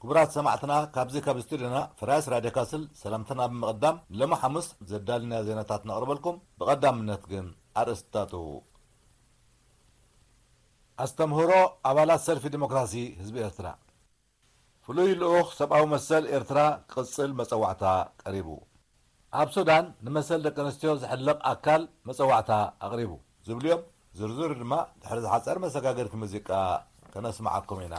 ክቡራት ሰማዕትና፣ ካብዚ ካብ ስቱድዮና ፍራይስ ራድዮ ካስል ሰላምትና ብምቕዳም፣ ሎሚ ሓሙስ ዘዳልናዮ ዜናታት ነቕርበልኩም። ብቐዳምነት ግን ኣርእስታቱ። ኣስተምህሮ ኣባላት ሰልፊ ዲሞክራሲ ህዝቢ ኤርትራ። ፍሉይ ልኡኽ ሰብኣዊ መሰል ኤርትራ ክቕጽል መጸዋዕታ ቀሪቡ። ኣብ ሱዳን ንመሰል ደቂ ኣንስትዮ ዝሕለቕ ኣካል መጸዋዕታ ኣቕሪቡ ዝብሉ እዮም። ዝርዝሩ ድማ ድሕሪ ዝሓጸር መሰጋገርቲ ሙዚቃ ከነስምዓኩም ኢና።